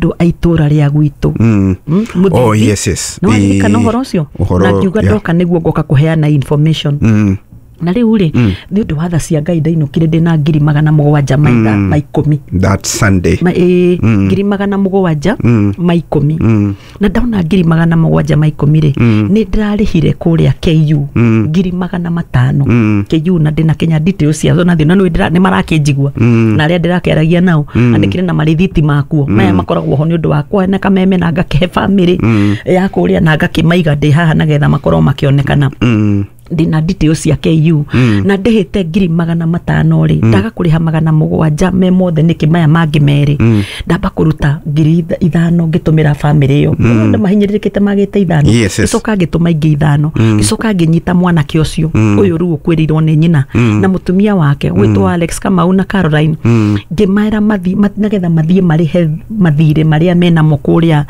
Andũ a itũra rĩa gwitũ. Oh, yes, yes. No kana ũhoro ũcio na ngiuga ndoka nĩguo ngoka kũheana information. Na rĩu rĩ, nĩ ũndũ wa tha cia Ngai ndainũkire ndĩna 710,000. That Sunday. 710,000. Na ndaona 710,000 rĩ, nĩ ndĩrarĩhire kũrĩa KU 500,000. KU na ndĩna Kenya details ciazo na thĩna nĩ marakĩnjigua na arĩa ndĩrakĩaragia nao andĩkire na marithiti makuo maya makoragwo ho nĩ ũndũ wakwa na kameme na ngakĩhe family ya kũrĩa na ngakĩmaiga ndĩ haha nagetha makorwo makĩonekana. Ndĩna details cia KU na ndĩhĩte 500,000 rĩ, ndaga kũrĩha 700 me mothe nĩkĩ maya mangĩ merĩ, ndamba kũruta 5,000 ngĩtũmĩra family ĩyo. Andũ mahinyĩrĩrĩkĩte magĩte 5, gĩcoka ngĩtũma ingĩ 5, gĩcoka ngĩnyita mwanake ũcio ũyũ rĩu ũkwĩrĩirwo nĩ nyina na mũtumia wake gwĩtwo Alex Kamau na Caroline, ngĩmera mathiĩ nagetha mathiĩ marĩhe mathirĩ marĩa menamo kũrĩa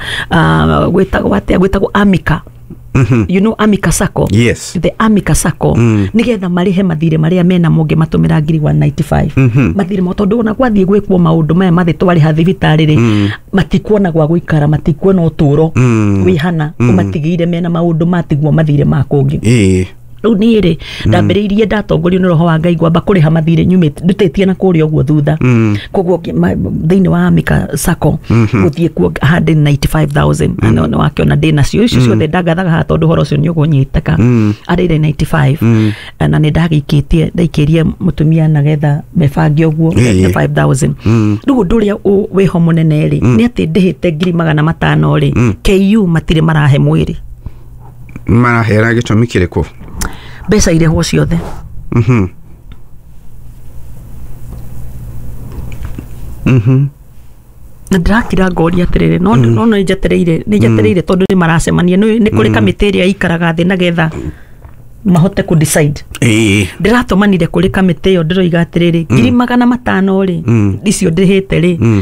gwĩtagwo atĩa, gwĩtagwo Amika. You know Amika Sacco? Yes. The Amika Sacco. Nigetha marihe mathire maria mena monge matumira 195. Mathire mo tondu ona gwathiĩ gwĩkwo maũndũ maya mathi twariha thibitarĩ rĩ, matikuona gwa gũikara, matikuona ũtũro wĩhana, ũmatigĩire mena maũndũ matiguo mathire ma kũngĩ. Rĩu niĩ rĩ, ndambĩrĩirie ndatongorio nĩ roho wa Ngai ngwamba kũrĩha mathirĩ nyumĩte ndutĩtie na kũrĩa ũguo thutha. Koguo thĩinĩ wa Amika Sacco gũthiĩ kuo 195,000 na nĩ wakĩona ndĩ nacio icio ciothe ndangathaga haha tondũ ũhoro ũcio nĩ ũgũnyitĩka. 195 na nĩ ndagĩikĩtie ndaikĩrie mũtumia nagetha mebange ũguo 5,000. Rĩu ũndũ ũrĩa wĩho mũnene rĩ, nĩ atĩ ndĩhĩte 500,000 rĩ, KU matirĩ marahe mwĩrĩ. Marahera gĩtũmi kĩrĩkũ? Mbeca irĩhwo ciothe. Na ndĩrakira ngoria atĩrĩrĩ, no no nĩ njetereire, nĩ njetereire tondũ nĩ maracemania, nĩ kũrĩ kamĩtĩ ĩrĩa ĩikaraga thĩ nagetha mahote kũ decide. Ndĩratũmanire kũrĩ kamĩtĩ ĩyo ndĩroiga atĩrĩrĩ, 500,000 rĩ, icio ndĩhĩte rĩ,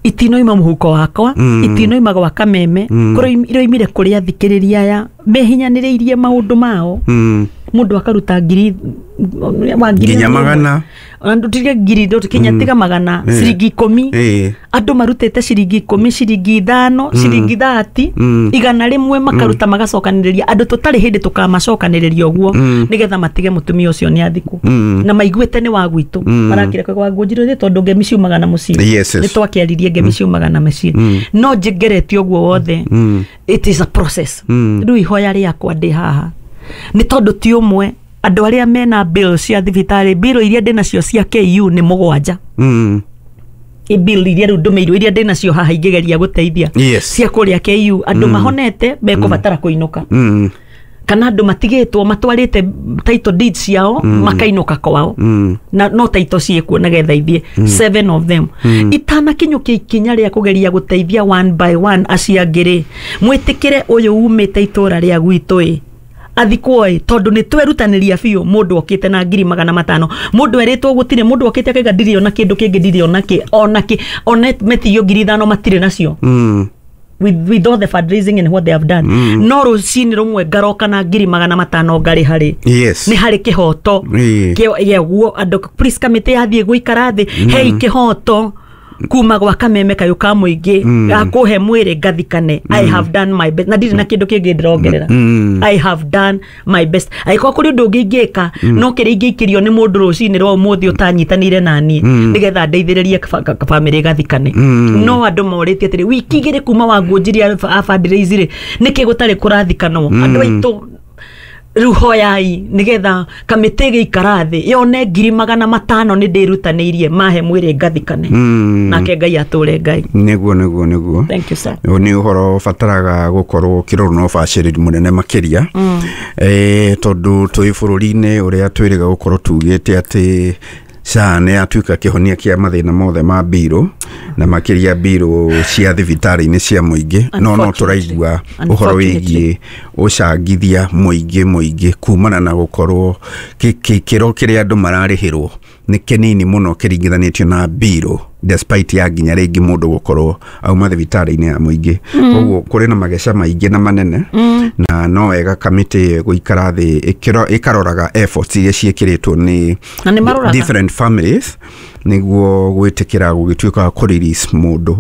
itinoima mũhuko wakwa, itinoima gwa kameme, iroimire kũrĩ athikĩrĩria aya mehinyanĩrĩirie maũndũ mao. Mũndũ akaruta ngiri wa ngiri nginya magana, andũ tiga ngiri kinya tiga magana, ciringi 10, andũ marutĩte ciringi 10, ciringi 5, ciringi 30, 100 makaruta magacokanĩrĩria andũ tũtarĩ hĩndĩ tũkamacokanĩrĩria ũguo nĩgetha matige mũtumia ũcio nĩ athikwo na maiguĩte nĩ wa gwitũ marakire kwa ngũnjirwo thĩ tondũ ngemi ciumaga na mũciĩ. Nĩ twakĩaririe ngemi ciumaga na mũciĩ, no njĩngeretie ũguo wothe. It is a process. Rĩu ihoya rĩakwa ndĩ haha nĩ tondũ ti ũmwe andũ arĩa mena bill cia thibitarĩ, bill iria ndĩ nacio cia KU nĩ 7. Bill iria rĩu ndũmĩirwo iria ndĩ nacio haha ingĩgeria gũteithia cia kũrĩa KU, andũ mahonete mekũbatara kũinũka, kana andũ matigĩtwo matwarĩte title deeds ciao makainũka kwao, na no title ciĩkuo nagetha ithiĩ 7 of them. Itanakinyũkia ikinya rĩa kũgeria gũteithia one by one acio angĩ rĩ, mwĩtĩkĩre ũyũ umĩte itũra rĩa gwitũ ĩ athikwo ĩ, tondũ nĩ twerutanĩria biũ. Mũndũ okĩte na 500,000, mũndũ erĩtwo gũtirĩ, mũndũ okĩte akaiga ndirĩ ona kĩndũ kĩngĩ, ndirĩ ona kĩ ona kĩ ona metio 5,000 matirĩ nacio. With all the fundraising and what they have done, no rũcinĩ rũmwe ngaroka na 500,000 ngarĩ harĩ. Nĩ harĩ kĩhoto kĩaguo andũ. Please kamĩtĩ yathiĩ gũikara thĩ, hei kĩhoto kuma gwa kameme kayũ ka mũingĩ gakũhe mwĩrĩ ngathikane. I have done my best na ndirĩ na kĩndũ kĩngĩ ndĩrongerera. I have done my best. Angĩkorwo kũrĩ ũndũ ũngĩ ingĩka, no kĩrĩa ingĩikĩrio nĩ mũndũ rũcinĩ rwa ũmũthĩ ũtanyitanĩire naniĩ nĩgetha ndeithĩrĩrie bamĩrĩ gathikane. No andũ morĩtie atĩrĩ, wiki 2 kuma wanguonjirie a fundraise rĩ, nĩkĩ gũtarĩ kũrathikanwo? Andũ aitũ rĩu hoyai nĩgetha kamĩtĩ ĩgĩikara thĩ yone 500,000 nĩ ndĩrutanĩirie mahe mwĩrĩ ngathikane, nake Ngai atũre Ngai. Nĩguo nĩguo nĩguo. Thank you sir. Nĩ ũhoro ũbataraga gũkorwo ũkĩrorwo na ũbacĩrĩri mũnene makĩria, tondũ twĩ bũrũri-inĩ ũrĩa twĩrĩga gũkorwo tugĩte atĩ SHA nĩ yatuĩka kĩhonia kĩa mathĩna mothe ma mbirũ na makĩria mbirũ cia thibitarĩ-inĩ cia mũingĩ, no tũraigua ũhoro wĩgiĩ ũcangithia mũingĩ kumana na gũkorwo kĩro kĩrĩa andũ mararĩhĩrwo nĩ kĩnini mũno kĩringithanĩtio na mbirũ, despite ya nginya rĩngĩ mũndũ gũkorwo auma thibitarĩ-inĩ ya mũingĩ. Koguo kũrĩ na mageca maingĩ na manene, na no wega kamĩtĩ gũikara thĩ ĩkaroraga efforts iria ciĩkĩrĩtwo nĩ different families nĩguo gwĩtĩkĩra gũgĩtuĩka wa kũ release mũndũ.